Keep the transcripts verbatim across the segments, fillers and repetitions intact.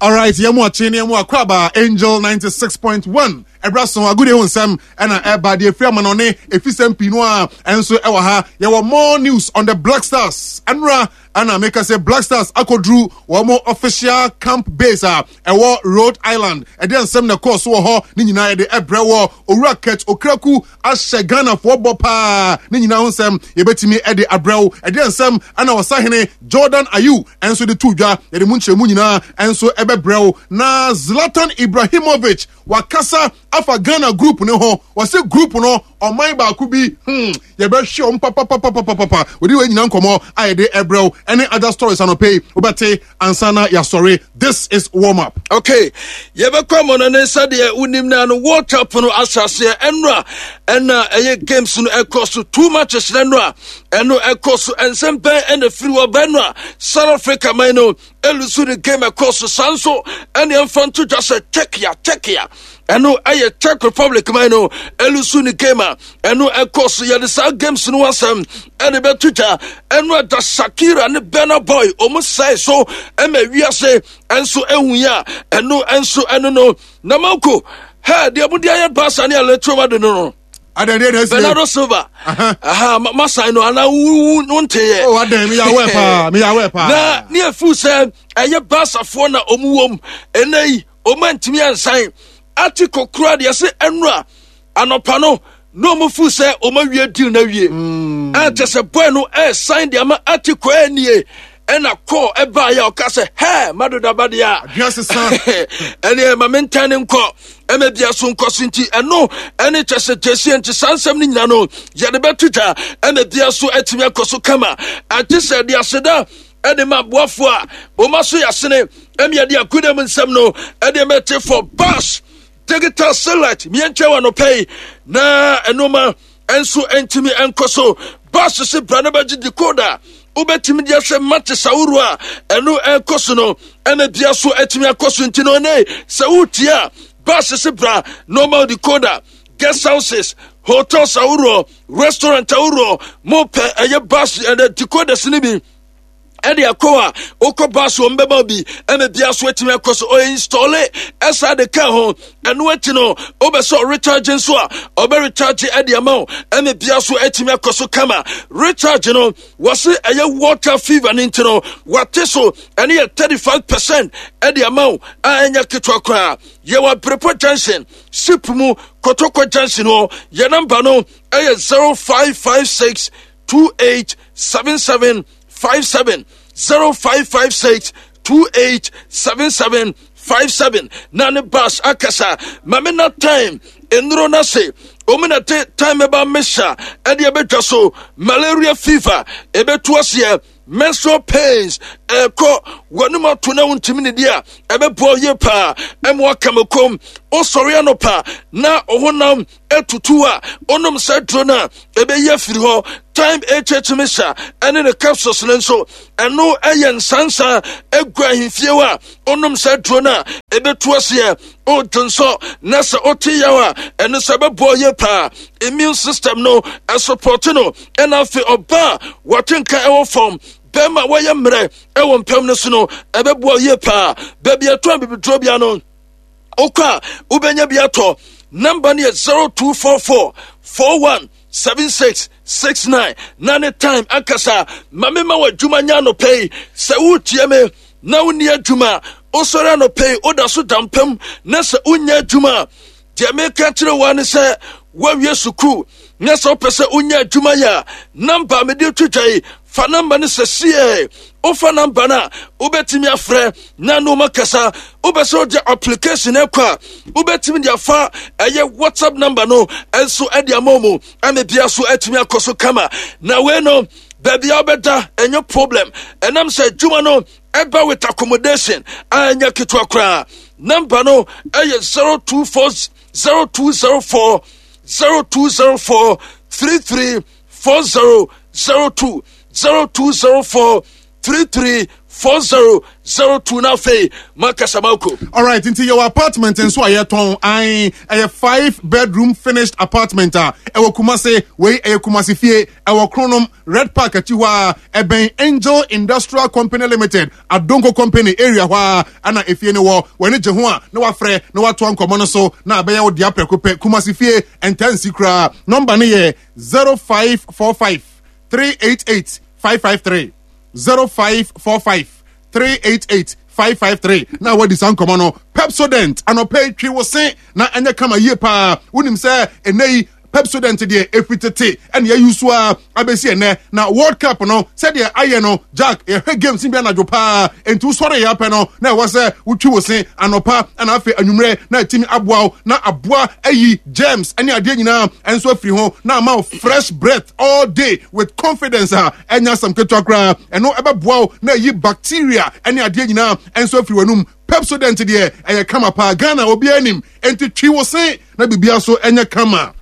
Alright, yɛn mu akye ne yɛn mu akwaba Angel ninety six point one ɛbra so agudie ho nsɛm ɛna ɛba deɛ efiri amanɔne efisɛm pii no a ɛnso ɛwɔ ha. Yɛwɔ more news on the Black Stars. Ɛnura ɛna meka sɛ Black Stars akɔduru wɔn official camp base a ɛwɔ Rhode Island. Ɛdeɛ nsɛm na ɛkɔɔ so wɔ hɔ ne nyinaa yɛde ɛbrɛ wɔ Owura Kurt Okraku ahyɛ Ghanafoɔ bɔ paa ne nyinaa ho nsɛm yɛbɛtumi ɛde abrɛ wo. Ɛdeɛ nsɛm ɛna ɔsahene Jordan Ayew ɛnso de to dwa yɛde mu nkyerɛmu nyinaa ɛnso ɛbɛbrɛ wo. Na Zlatan Ibrahimovic wakasa afa Ghana group ne ho, wɔsɛ group no ɔman baako bi hmm yɛbɛhwɛ wɔn papapapapapa. Wɔde wɔn nyinaa nkɔmɔ a yɛde ɛbrɛ wo ɛne other stories anɔpɛ yi wobɛte ansa na yɛasɔre. This is warm up. Okay, yɛbɛkɔ amɔ ne sɛdeɛ wonim no no World Cup no ahyɛaseɛ ɛno a ɛna ɛyɛ games no ɛkɔ so two matches no no a ɛno ɛkɔ so. Ɛnsɛm bɛn ɛna firi wɔ bɛn no a South Africa man no ɛlose ne game ɛkɔ so. Saa nso ɛne ɛmfa nto dwa sɛ Czechia Czechia ɛno ɛyɛ Czech Republic man no ɛlose ne game a ɛno ɛkɔ so. Yɛde saa games no asɛm ɛde bɛto dwa. Ɛno ɛda Shakira ne Burna Boy ɔmo sɛe so ɛma wiase ɛnso ɛhu yi a ɛno ɛnso ɛno no na manko hɛ deɛ mode ayɛ Barca ne Atletico Madrid no no Adan deɛ na esi. Bernardo Silva aha masan no anaa wonteyɛ? Oh, adan mi yà wɛ paa, mi yà wɛ paa. Na ne efu sɛ ɛyɛ Barcafoɔ na ɔmu wɔm ɛnɛ yi ɔmu antumi ansan ati kokora deɛ sɛ ɛnura anɔpa no na ɔmu fu sɛ ɔmu awie deal na awie ɛnkyɛ sɛ boy no ɛɛsan deɛ ama ati kɔ ɛnie ɛna kɔɔ ɛbaa yɛ ɔka sɛ hɛ madodaba deɛ a adwene sesa. Ɛne ma mentan ne nkɔ ɛma bia so nkɔ so nti ɛno ɛne kyɛ sɛ gyesi nti saa nsɛm no nyina no yɛde bɛto dwa ɛma bia so atumi akɔ so kama. Agye sɛ de aseda ɛde ma aboafoɔ a wɔma so yɛasene ɛne yɛde akodam nsɛm no ɛde mɛte for bus digital satellite miɛnkyɛ wɔ anɔpɛ yi na ɛnoma ɛnso ɛntumi ɛnkɔ so. Bus se bra no bɛgye decoder wobɛtumi de ahwɛ matches ahoroɔ a ɛno ɛkɔ so no ɛna bia so atumi akɔ so. Nti no ɛnɛ sɛ wotie a bus se bra normal decoder, guest houses, hotels ahoroɔ, restaurant ahoroɔ mopɛ ɛyɛ bus ɛnɛ decoders no bi ɛde akɔ a wokɔ bus wɔn bɛma bi ɛna bia so atumi akɔ so ɔyɛ install ɛsa de ka ho. Ɛno akyi no wobɛ sɛ ɔrecharge nso a ɔbɛ recharge ɛde ama wo ɛna bia so atumi akɔ so kama. Recharge no wɔse ɛyɛ water fever ne nti no wate so ɛne yɛ thirty-five percent ɛde ama wo a ɛnyɛ ketewa koraa. Yɛwɔ Abrepɔ Junction ship mu, Kotoko Junction hɔ. Yɛ number no ɛyɛ zero five five six two eight seven seven five seven, zero five five six two eight seven seven five seven. Na ne bus akasa mame na time nnuro no ase ɔmu na te time ɛba mesa ɛde ɛbɛtwa so malaria fever ɛbɛtu aseɛ, menstrual pains ɛkɔ wɔnum ato na wontumi ne di a ɛbɛboa yie paa ɛma waka kom. Wosɔre anɔpa na ɔhonam etutu a onom sɛ duro no a ɛbɛyi afiri hɔ. Time H H mixture ɛne ne capsules no nso ɛno ɛyɛ nsansa egu ahemfie hɔ a onom sɛ duro no a ɛbɛtu aseɛ. Odwo nsɔ na sɛ wote yaw a ɛno sɛ ɛbɛboa yie paa, immune system no ɛsupport no. Ɛna afei ɔbaa a wɔte nka ɛwɔ fam, bɛrima a wɔyɛ mmerɛ ɛwɔ mpɛm no so no ɛbɛboa yie paa. Baabi ɛtɔ abibiduro bia no wokɔ a wobɛnya bi atɔ. Number no yɛ zero two four four four one seven six six nine. Na ne time ankasa ma mema wɔ adwuma nya anɔpɛ yi. Sɛ wotie me na wonni adwuma, wosɔre anɔpɛ yi woda so da mpam na sɛ wonya adwuma a, deɛ meka kyerɛ wo ne sɛ woawie sukuu na sɛ wopɛ sɛ wonya adwuma yɛ a, number mede to dwa yi, fa number no sɛ sie. Wofa number no a wobɛtumi afrɛ na ne woma kasa. Wobɛ sɛ wode application ɛkɔ a wobɛtumi de afa ɛyɛ WhatsApp number no ɛnso ɛde ama mu ama bia so atumi akɔ so kama. Na wei no baabi a wobɛda ɛnyɛ problem ɛnam sɛ adwuma no ɛba with accommodation a ɛnyɛ ketewa koraa. Number no ɛyɛ zero two four zero two zero four zero two zero four three three four zero zero two, zero two zero four three three four zero zero two na afei makasa mako. Alright, nti yɛwɔ apartment nso a yɛtɔn an ɛyɛ five bedroom finished apartment a ɛwɔ Kumase. Wei ɛyɛ Kumase fie, ɛwɔ Kronom Red Park akyi hɔ a ɛbɛn Angel Industrial Company Limited, Adonko Company area hɔ a ɛna efie no wɔ. W'ani gye ho a, na wafrɛ na watoa nkɔmmɔ no so na abɛyɛ wo dea prɛko pɛ. Kumase fie ɛnta nsi koraa. Nɔmba no yɛ zero five four five three eight eight five five three, zero five four five three eight eight five five three na wadi saa nkɔmmɔ no. Pepsodent, anɔpɛ yi twi wo se na ɛnyɛ kama yie paa. Wonim sɛ ɛnɛ yi Pepsodent deɛ ɛfiri tete ɛne ayi so a abɛsi ɛnɛ na World Cup no sɛdeɛ ayɛ no, Jack, yɛhwɛ games bi anadwo paa, enti wosɔre yɛ apɛ no na ɛwɔ sɛ wotwi wo se anɔpa ɛna afei anwummerɛ na atumi aboa wo na aboa ayi germs ɛne adeɛ nyinaa ɛnso afiri ho na ama wo fresh breath all day with confidence a ɛnya asɛm ketewa koraa. Ɛno ɛbɛboa wo na ayi bacteria ɛne adeɛ nyinaa ɛnso afiri w'anum. Pepsodent deɛ ɛyɛ kama paa, Ghana obiara anim, enti twi wo se na biribia so ɛnyɛ kama.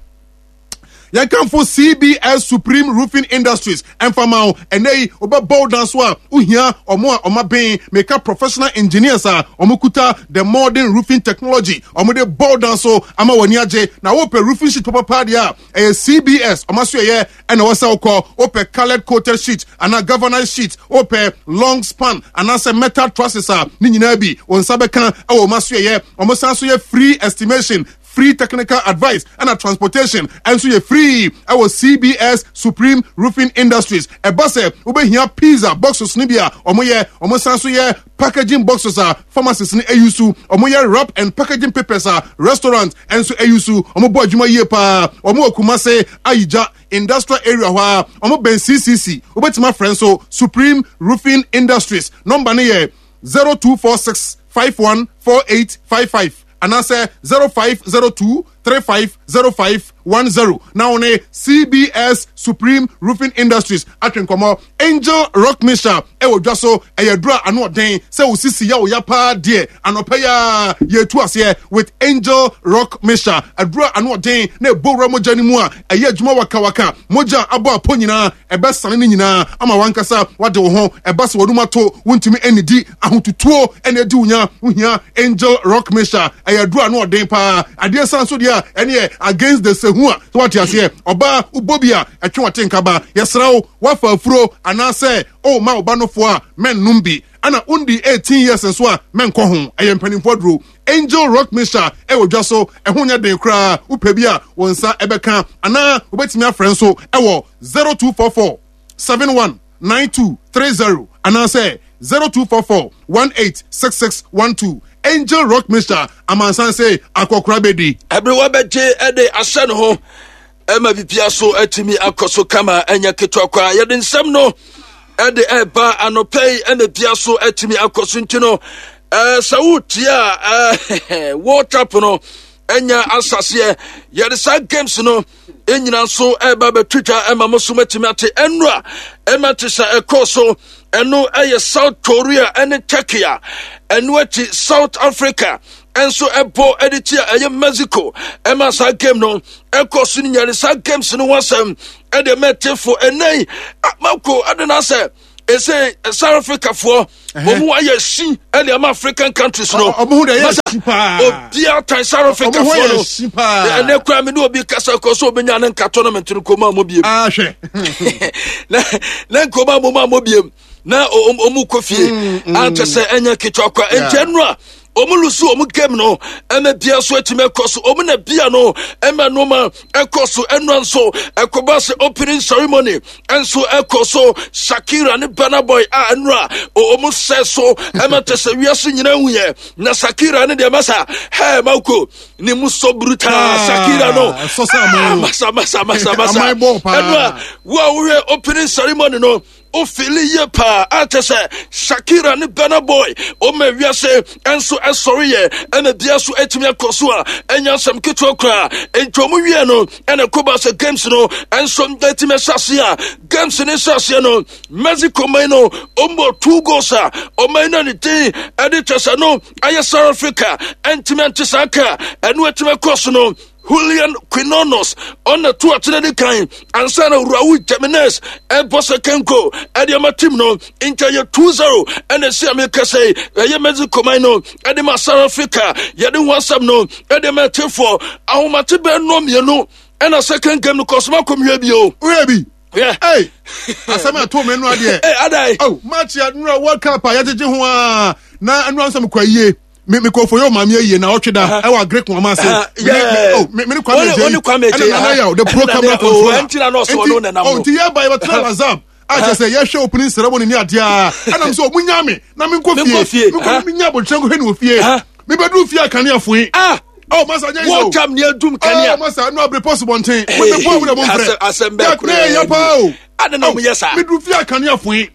Yɛnkamfo C B S Supreme Roofing Industries ɛmfama wo. Ɛnɛ yi wobɛbɔ wo dan so a, wohia ɔmo a ɔma ben meka professional engineers a ɔmo kuta the modern roofing technology, ɔmo de bɔ wo dan so ama w'ani agye. Na wopɛ roofing sheet papapa deɛ a, ɛyɛ C B S ɔma so ɛyɛ ɛna ɛwɔ sɛ wokɔ. Wopɛ coloured coated sheet anaa galvanized sheet, wopɛ long span anaasɛ metal trusses a, ne nyinaa bi wɔn nsa bɛka ɛwɔ ɔma so ɛyɛ. Ɔmo san so yɛ free estimation, free technical advice, ɛna transportation ɛnso yɛ free ɛwɔ C B S Supreme Roofing Industries. Ɛba sɛ wobɛhia pizza boxes no bi a, ɔmo yɛ. Ɔmo san so yɛ packaging boxes a pharmacies no ayi so. Ɔmo yɛ wrap and packaging papers a restaurant ɛnso ayi so. Ɔmo bɔ adwuma yie paa. Ɔmo wɔ Kumase Ayigya Industrial Area hɔ a ɔmo bɛn C C C. Wobɛtumi afrɛ nso Supreme Roofing Industries, nɔmba no yɛ zero two four six five one four eight five five anaasɛ zero five zero two three five zero five one zero na wo ne C B S Supreme Roofing Industries atwe nkɔmmɔ. Angel Rock Mixture ɛwɔ dwa so, ɛyɛ duro a ano ɔden sɛ wo sisi yɛ wo ya paa deɛ, anɔpɛ yi a yɛtu aseɛ with Angel Rock Mixture. Aduro a ano ɔden na ɛbɔ wura mogya no mu a ɛyɛ adwuma wakawaka, mogya abɔ apɔ nyinaa ɛbɛsane no nyinaa ama wankasa wade wo ho. Ɛba sɛ wɔnum ato, wontumi anidi, ahotutuo ɛna adi wo nya, wohia Angel Rock Mixture. Ɛyɛ aduro a ano ɔden paa. Adeɛ san so deɛ a ɛne yɛ against the sehu a sɛ wate aseɛ, ɔbaa wobɔ bi a ɛtwe wate nkaba. Yɛsrɛ wo, wafa afuro anaasɛ ɔma ɔba nofoɔ a, mɛnnom bi, ɛna wondi eighteen years nso a, mɛnkɔ ho. Ɛyɛ mpanimfoɔ aduro. Angel Rock Mixture ɛwɔ dwa so, ɛho nyɛ den koraa. Wopɛ bi a, wɔn nsa ɛbɛka anaa wobɛtumi afrɛ nso ɛwɔ zero two four four seven one nine two three zero anaasɛ zero two four four one eight six six one two. Angel Rock Mixture, amansan sɛ akɔkora bɛdi. Ɛberewa bɛgye ɛde ahyɛ ne ho ɛma bibia so atumi akɔ so kama, ɛnyɛ ketewa koraa. Yɛde nsɛm no ɛde ɛba anɔpɛ yi ɛna bia so atumi akɔ so, nti no ɛɛ sɛ wotie a, ɛɛ World Cup no ɛnya asaseɛ, yɛde saa games no ɛnyina nso ɛba bɛtwitwa ɛma mo so matumi ate. Ɛno a ɛma te sɛ ɛkɔɔ so, ɛno ɛyɛ South Korea ɛne Turkey a ɛno akyi South Africa ɛnso ɛbɔ ɛde tia ɛyɛ Mexico, ɛma saa game no ɛkɔ so no nyane. Saa games no ho asɛm ɛde mɛtefo ɛnɛ yi mako ɛde no asɛ ɛsɛ South Africa foɔ wɔn mu ayɛ si ɛde ama African countries no. Ɔmo ho de ɛyɛ si paa. Obiara tan South Africa Ɔmo ho foɔ yɛ no. si paa. Ɛnɛ kura mi ne obi kasa kɔ so obenya ne nka tournament no kɔn mu a mo biem. Ahwɛ. na na nkɔmɔ a mo mu a mo biem na ɔmo kɔ fie ankyɛ sɛ ɛnyɛ ketewa kwa. Nti ɛno a ɔmo lose ɔmo game no, ɛmɛ bia so atumi ɛkɔ so, ɔmo na bia no ɛmɛ nneɛma ɛkɔ so. Ɛnua nso ɛkɔba sɛ opening ceremony ɛnso ɛkɔ so, Shakira ne Burna Boy a ɛnua ɔmo sɛ so ɛmɛ te sɛ wiase nyinaa hu yɛ na Shakira ne deɛ masa hɛɛ mako ne mu sɔ brutal. Shakira no ɛsɔ sɛ aman o. Masa masa masa masa. Aman bɔɔ paa. Ɛnua wo a wohwɛ opening ceremony no, ofili yie paa akyɛ sɛ Shakira ne Burna Boy ɔma wiase ɛnso ɛsɔre yɛ ɛna bia so atumi akɔ so a ɛnya asɛm ketewa koraa. Nti ɔmo wie no ɛna kɔba sɛ games no ɛnso atumi ahyɛ ase a, games no hyɛ aseɛ no, Mexico man no ɔmbɔ two goals a ɔman no ne din ɛde kyɛ sɛ no ayɛ South Africa ɛntumi ante saa ka. Ɛno atumi akɔ so no. Julian Quinones ɔna to akyerɛ de kan ansa na Raul Jimenez ɛbɔ second goal ɛde ama team no. Nti ɛyɛ two zero ɛna ɛsi a meka sɛ ɛyɛ Mexico man no ɛde ma South Africa. Yɛde ho asɛm no ɛde ma ɛtefoɔ ahomate bɛɛ no mmienu ɛna second game no kɔsoma kɔmhwɛ bio. Woyɛ bi. Yeah. Hey, asɛm a ɛtoo me no adeɛ. Hey, adai. Oh, match a nnura World Cup a yɛgyegye ho a na nnura nsɛm kɔ ayie. Me me kɔfo yɛ ɔmaame ayie na ɔtwe da ɛwɔ agric wɔn ase. Ah, yeah. Oh, me me ne Kwame Wɔne- Adjei wɔne Kwame Adjei, ɛna Nana ah. Yaw, the pro Ɛna camera Nana- oh, controller. ɛnti na na ɔsɛ ɔno nenam oh, no. nti yɛ ba yɛbɛtena Lazam a kyerɛ sɛ yɛhwɛ opening ceremony ne adeɛ a, ɛnam sɛ ɔmo nya me na menkɔ Menkɔ fie. fie, Menkɔ ah. menya abotire nkɔhwɛ ne wɔ fie. Ah. Mebɛduru fie a, kanea foe. Ah. Oh, masa, nyɛ World Cup ni adum kanea. Oh, masa, no abere pɔs bɔnten. Mo bɛ bɔ awo de mo nfrɛ. Asɛm- asɛm bɛɛ koraa. Yɛ paa o. Ade na ɔmo yɛ saa. Meduru fie a, kanea foe.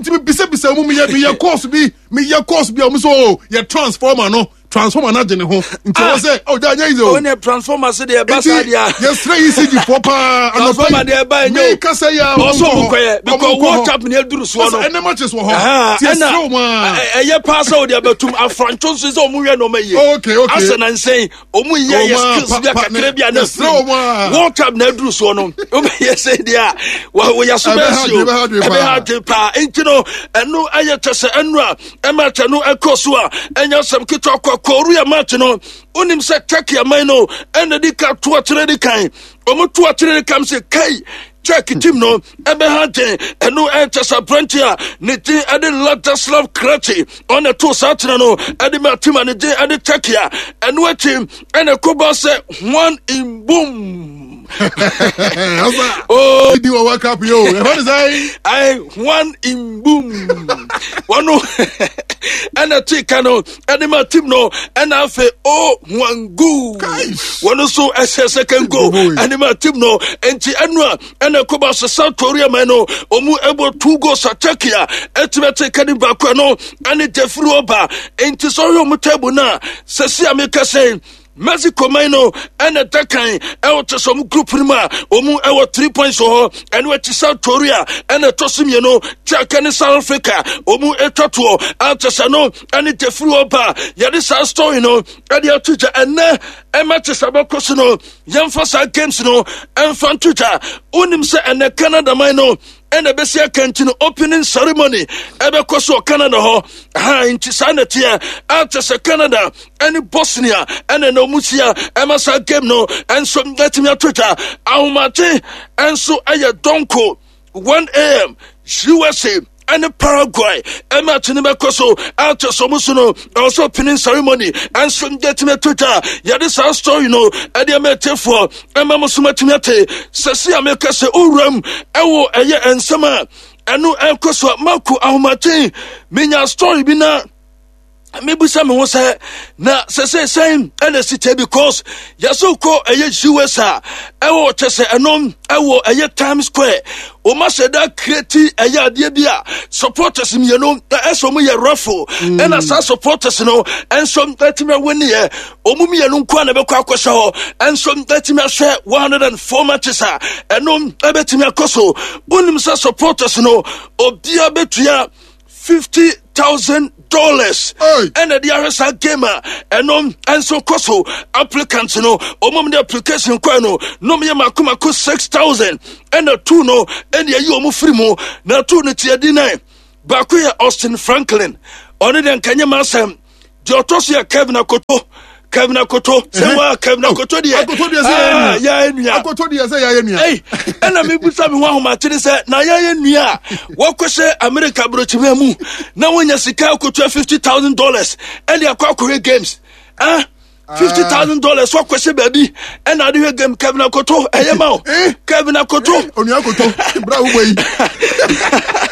Nti mebisabisa mu, meyɛ meyɛ course bi meyɛ course bi a ɔmo sɛ, o, yɛ transformer no transformer no agye ne ho, nti ɛwɔ sɛ, oh, gya nyɛ easy o. Ɔne transformer se deɛ ɛba saa Nti deɛ a. yɛsrɛ E C G foɔ paa. Transformer deɛ ɛba ɛnyɛ o. Mi kasa yi a, ɔsɔ ɔmo kɔyɛ because World Cup ni aduru soɔ no. Ɛnɛ matches wɔ hɔ. Aha, Ti ɛna yɛsrɛ wɔn a. ɛ- ɛyɛ paa sɛ wode abɛtum afrantwo nso sɛ ɔmo hwɛ nɔɔma yie. Okay, okay. Asɛ nansɛn ɔmo yɛ yɛ Ɔmo a, skills bi a pa- pa- kakra bi a na yɛsrɛ wɔn a. World Cup na aduru soɔ no, wobɛyɛ sɛ deɛ a wa- wɔyɛ so Ɛbɛha bɛsi o. adwene, ɛbɛha adwene paa. Ɛbɛha adwene paa. Nti no ɛno ɛyɛ kyɛ sɛ ɛno a ɛma kyɛ no ɛkɔ so a, ɛnyɛ asɛm ketewa kɔ. Korea match no, wonim sɛ Turkey aman no ɛna di ka to akyerɛ di kan. Ɔmo to akyerɛ di kan sɛ kai Czech team no ɛbɛha den. Ɛno ɛnkyɛ sɛ aberante a ne din ɛde Ladislav Krejci ɔna to saa tena no ɛde ma team a ne din ɛde Turkey a, ɛno akyi ɛna ɛkɔba sɛ Hwang In-beom. Ɔsa. Oh. Di wɔ World Cup yi o. Ɛfɛ de sɛ. Ai, Hwang In-beom wɔno ɛna tee ka no ɛde ma team no, ɛna afei o Hwangu Kaish. wɔno nso ɛhyɛ second goal Good boy. ɛde ma team no. Nti ɛno a ɛna ɛkɔba sɛ South Korea man no ɔmu ɛbɔ two goals a Turkey a ɛtumi ɛte ka ne baako no ɛne Jeffrey ɔba. Nti sɛ ɔyɛ ɔmo table no a, sɛsi a meka sɛ Mexico man no ɛna ɛda kan ɛwɔ kyɛ sɛ ɔmo group no mu a, ɔmo ɛwɔ three points wɔ hɔ. Ɛno akyi South Korea ɛna ɛtɔ so mmienu, Czech ne South Africa ɔmo atwa toɔ a kyɛ sɛ no ɛne Jeffrey ɔba. Yɛde saa story no ɛde ato gya. Ɛnɛ ɛma kyɛ sɛ bɛkɔ so no, yɛmfa saa games no ɛmfa nto gya. Wonim sɛ ɛnɛ Canada man no ɛna ɛbɛsi aka, nti no opening ceremony ɛbɛkɔ so wɔ Canada hɔ ha. Nti saa na teɛ akyɛ sɛ Canada ɛne Bosnia ɛna na ɔmu hyia ɛma saa game no ɛnso ɛtumi ato twa. Ahomakye ɛnso ɛyɛ dɔnko one a m U S A ɛne Paraguay ɛma akyi no bɛkɔ so akyɛ sɛ ɔmo so no ɛwɔ sɛ opening ceremony ɛnso yɛtumi ato twa. Yɛde saa story no ɛde ɛma ɛtiefoɔ ɛma mo so matumi ate sɛsi a meka sɛ owuram ɛwɔ ɛyɛ nsɛm a ɛno ɛnkɔ so a. Mako ahomakyen menya story bi na mebusa me ho sɛ na sɛ sɛ sɛn ɛna si kyɛ, because yɛsɛ kɔ ɛyɛ U S a, ɛwɔ kyɛ sɛ ɛnom ɛwɔ ɛyɛ Times Square, ɔma hyɛ da create ɛyɛ adeɛ bi a supporters mmienu ɛsɛ ɔmo yɛ raffle, ɛna saa supporters no ɛnso ɛtumi awɔniɛ ɔmo mmienu nko a na ɛbɛkɔ akɔhyɛ hɔ, ɛnso ɛtumi ahyɛ one hundred and four matches a ɛno ɛbɛtumi akɔ so. Wonim sɛ supporters no obiara bɛtua fifty thousand dollars Hey. ɛna de ahwɛ saa game a ɛno ɛnso kɔ so. Applicants no, ɔmo de application kɔɛ no na ɔmo yɛ mako mako six thousand, ɛna two no ɛna ɛyi ɔmo firi mu. Na two no tiɛ di nine, baako yɛ Austin Franklin, ɔno deɛ nkanyɛ ma asɛm. Deɛ ɔtɔ so yɛ Kevin Akoto. Kevin Akoto sɛ wa Kevin Akoto deɛ. Akoto deɛ sɛ yɛyɛ Ah, nua. yɛyɛ nua. Akoto deɛ sɛ yɛayɛ nua. Ei, ɛna mebusa me ho ahomakyere sɛ na yɛyɛ nua a wɔkɔhyɛ Amerika aborɔkyimia mu na wonya sika akotua fifty thousand dollars ɛde akɔ akɔhwɛ games, ah, fifty thousand dollars wɔkɔhyɛ baabi ɛna ade hwɛ game. Kevin Akoto, ɛyɛ ma wo. Eh. Kevin Akoto. Onua Akoto, bra wo bɔ yi.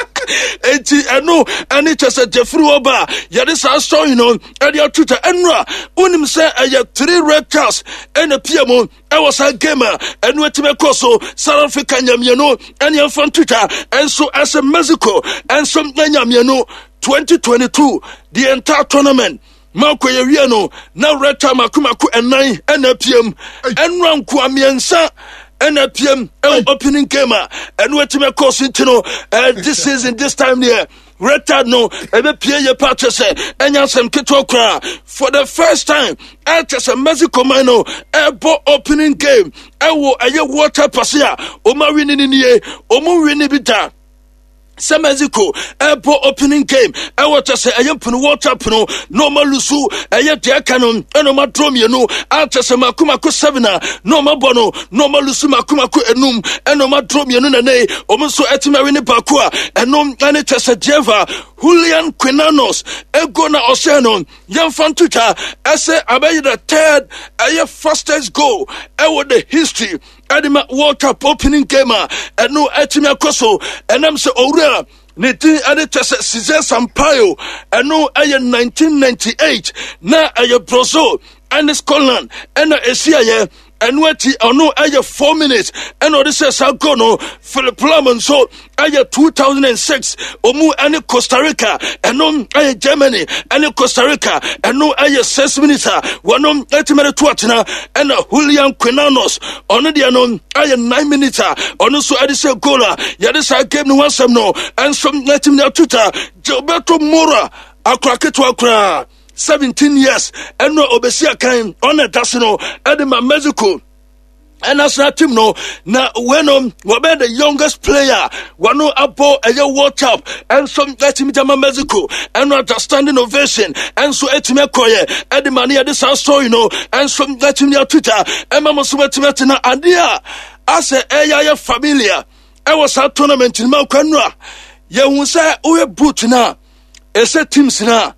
Enti ɛno ɛne kyɛ sɛ Jeffrey ɔba a yɛde saa story no ɛde ato twa. Ɛno a wonim sɛ ɛyɛ three red cards ɛna pia mu ɛwɔ saa game a ɛno atumi kɔ so. South Africa nya mmienu, ɛne ɛmfa nto twa ɛnso ɛsɛ Mexico ɛnso anya mmienu. twenty twenty-two, the entire tournament, mako yɛwie no na red card mako mako ɛnan ɛna apiem. Ɛnora nkoa mmiɛnsa ɛna apiem ɛwɔ opening game a ɛno atumi kɔ so. Nti no eh, this season, this time deɛ, Red no ɛbɛpie yɛ pa kyɛ sɛ ɛnya asɛm ketewa koraa. For the first time ɛkyɛ sɛ Mexico man no ɛbɔ opening game ɛwɔ ɛyɛ World Cup ase a ɔma win ne nie, ɔmo win bi da sɛ Mexico ɛbɔ opening game ɛwɔ kyɛ sɛ ɛyɛ mpono World Cup no na ɔma lose. Ɛyɛ deɛ aka no ɛna ɔma draw mmienu akyɛ sɛ mako mako seven a na ɔma bɔ no na ɔma lose mako mako enum ɛna ɔma draw mmienu, na ne ɔmo nso ɛtumi awe ne baako a ɛno ɛne kyɛ sɛ Dieva Julian Quinones ego na ɔhyɛ no. Yɛmfa ntotwa ɛsɛ abɛyɛ the third ɛyɛ fastest goal ɛwɔ the history ɛde ma World Cup opening game a ɛno ɛtumi akɔ so. Ɛnam sɛ owura ne din ɛde kyɛ sɛ Cesar Sampaio, ɛno ɛyɛ nineteen ninety-eight na ɛyɛ Brazil ɛne Scotland ɛna ɛsiayɛ. Ɛno akyi ɔno ɛyɛ four minutes ɛna ɔde sɛ saa goal no. Philip Lahm nso ɛyɛ two thousand and six, ɔmu ɛne Costa Rica, ɛno ɛyɛ Germany ɛne Costa Rica, ɛno ɛyɛ six minutes a wɔno ɛtumi de to atena. Ɛna Julian Quinones ɔno deɛ no ɛyɛ nine minutes a ɔno nso ɛde sɛ goal a yɛde saa game no ho asɛm no ɛnso ɛtumi de ato ta. Gilberto Mora, akora ketewa koraa, seventeen years, ɛno a obesi akan ɔna ɛda so no ɛde ma Mexico national team no, na wei no wɔbɛyɛ the youngest player wɔno abɔ ɛyɛ World Cup ɛnso ɛtumi gyama Mexico. Ɛno ada standing ovation ɛnso ɛtumi akɔyɛ ɛde ma ne yɛde saa story no ɛnso ɛtumi atwitwa ɛma mo so ɛtumi atena adeɛ a asɛ ɛyɛ ayɛ familiar ɛwɔ saa tournament no mu akwa no a yɛhu sɛ woyɛ boot no a ɛsɛ teams no a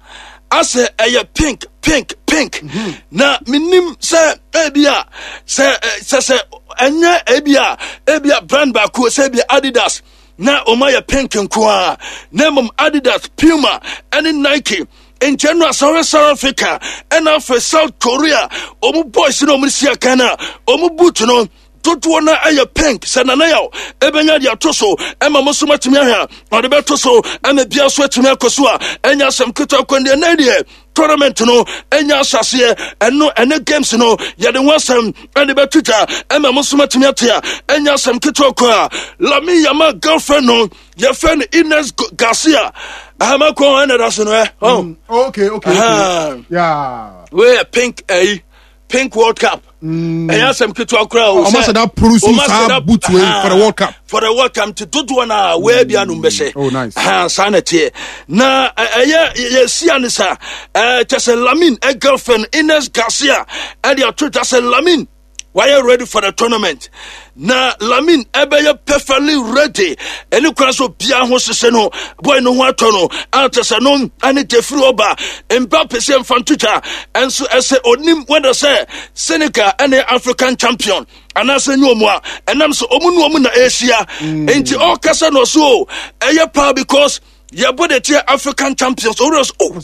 asɛ ɛyɛ pink, pink, pink mm -hmm. Na menim sɛ ebi a sɛ sɛ sɛ ɛnyɛ ebi a ebi a brand baako sɛ ebi Adidas na ɔma yɛ pink nko a, na mmom Adidas, Puma ɛne Nike. Nkyɛn no asɔre South Africa ɛna afei South Korea ɔmo boys na ɔmo si akan na ɔmo boot no dodoɔ no ɛyɛ pink. Sɛ Nana Yaw ɛbɛnya de ato so ɛma mo so matumi ahwɛ a ɔde bɛto so ɛma bia so atumi akɔ so a ɛnya asɛm ketewa kwan deɛ. Nan deɛ tournament no ɛnya ahyɛseɛ, ɛno ɛne games no yɛde ho asɛm ɛde bɛto dwa ɛma mo so matumi ate a ɛnya asɛm ketewa kɔ a Lamine Yamal girlfriend no yɛfrɛ no Ines Garcia ahama kɔn ɛna da so no ɛ. Oh okay okay okay yeah. Wei yɛ pink, ɛyi pink World Cup. Ɛyɛ asɛm ketewa koraa o. Ɔmo asɛ da produce saa boot wei for the World Cup. For the World Cup nti dodoɔ no a wei bi anum bɛhyɛ. Oh, nice. Saa na teɛ na ɛyɛ yɛsia ne sa kyɛ sɛ Lamine ɛ girlfriend Ines Garcia ɛde ato dwa sɛ Lamine wayɛ ready for the tournament na Lamine ɛbɛyɛ perfectly ready. Ɛne kwan so biara ho hyehyɛ no, boy no ho atɔ no ante sɛ no ɛne jefiri ɔba Mbappe sɛ mfa ntotwa ɛnso ɛsɛ onim wɛdɛ sɛ Senegal ɛne African champion anaasɛ nyɛ ɔmu a ɛnam sɛ ɔmu ne ɔmu na ɛhyia nti ɔkasa no ɔso o ɛyɛ paa because yɛbɔ de teɛ African champions owurɛ so oh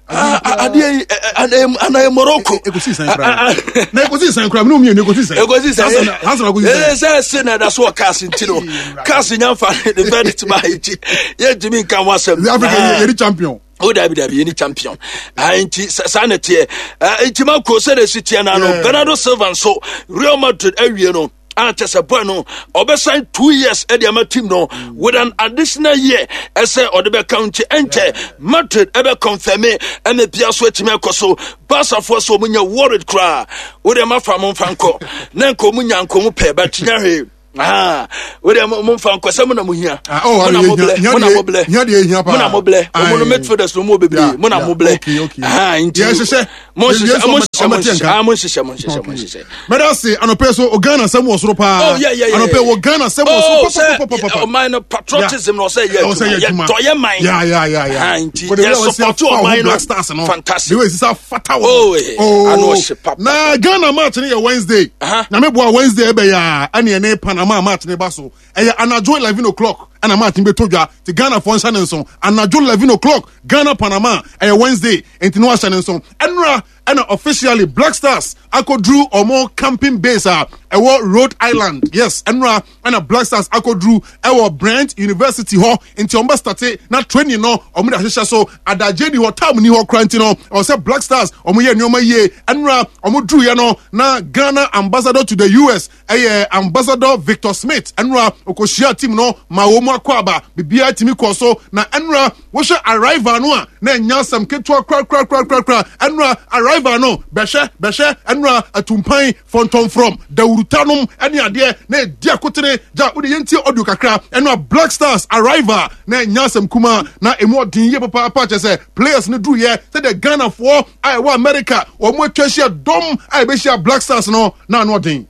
adeɛ yi anayɛ Morocco. Ekosi sɛn kura na ekosi sɛn kura minnu mienu ekosi sɛn? Ekosi sɛn. Hasan ekosi sɛn. Ee, sɛ ɛsɛ na ɛda so wɔ CAF nti no CAF nyanfa ne verdict ma yi ti yɛ ntumi nka ho asɛm. Africa yɛ ni champion. O dabi dabi, yɛ ni champion nti saa na teɛ nti ma ko sɛ de si teɛ na no. Bernardo Silva nso Real Madrid awie no a kyɛ sɛ boy no ɔbɛsan two years ɛde ama team no with an additional year ɛsɛ ɔde bɛka nti ɛnkyɛ Madrid ɛbɛ confirm ɛna bia so atumi akɔ so. Barcafoɔ so ɔmo nya worried koraa, wode ma fa mo mfa nkɔ na nka ɔmo nya nka ɔmo pɛ but nya hwee. Ah, wode mo mfa nkɔ sɛ mo na mo hia. Mo na mo blɛ, mo na mo blɛ, mo na mo blɛ. Ɔmo no midfielders no mo bebree, mo na mo blɛ. Ah, nti mo nhyehyɛ, mo nhyehyɛ, mo nhyehyɛ, ah, mo nhyehyɛ, mo nhyehyɛ, mo nhyehyɛ. Mɛda se anɔpɛ so o Ghana sɛm wɔ soro paa. Oh, yeah, yeah, yeah. Anɔpɛ wɔ Ghana sɛm wɔ soro pɔpɔpɔpɔpɔ. Ɔman no patriotism na ɔsɛ yɛ adwuma, yɛ dɔ yɛ man. Yeah, yeah, yeah, yeah. Nti yɛ support ɔman no. Fantastic. The way sisa fata wɔ. Oh, ano ɔhyɛ papa. Na Ghana match no yɛ Wednesday. Na me boa Wednesday ɛbɛ yɛ a ɛne ɛne Panama match ne ba so. Ɛyɛ anadwo eleven o'clock ɛna match no bɛtɔ dwa ti. Ghana fɔ nhyɛ ne nso anadwo eleven o'clock, Ghana Panama, ɛyɛ Wednesday nti ne wahyɛ ne nso. Ɛnura Ɛna officially Black Stars akɔduru ɔmo camping base a ɛwɔ Rhode Island. Yes, ɛnura ɛna Black Stars akɔduru ɛwɔ Brent University hɔ, nti ɔmo bɛ start na training no ɔmo de ahyehyɛ so. Adagye ni hɔ, time ni hɔ kora, nti no ɔwɔ sɛ Black Stars ɔmo yɛ nneɛma yie. Ɛnura ɔmo duru yɛ no na Ghana ambassador to the U S, ɛyɛ Ambassador Victor Smith, ɛnura okohyia team no ma wɔn mu akɔ aba. Biribiara tumi kɔ so na ɛnura wɔhwɛ arrival no a, na ɛnya asɛm ketewa korakorakorakora. Ɛnura arrival no, bɛhwɛ bɛhwɛ, ɛnura atumpan fɔntɔnfrɔm dawurutanom ɛne adeɛ na ɛdi akotene gya. Wode yɛntie audio kakra. Ɛnura Black Stars arrival na ɛnya asɛm kuma na emu ɔden yie papaapa, kyɛ sɛ players no duruyɛ sɛdeɛ Ghanafoɔ a ɛwɔ America wɔn atwa ahyia dɔm a ɛbɛhyia Black Stars no na ano ɔden.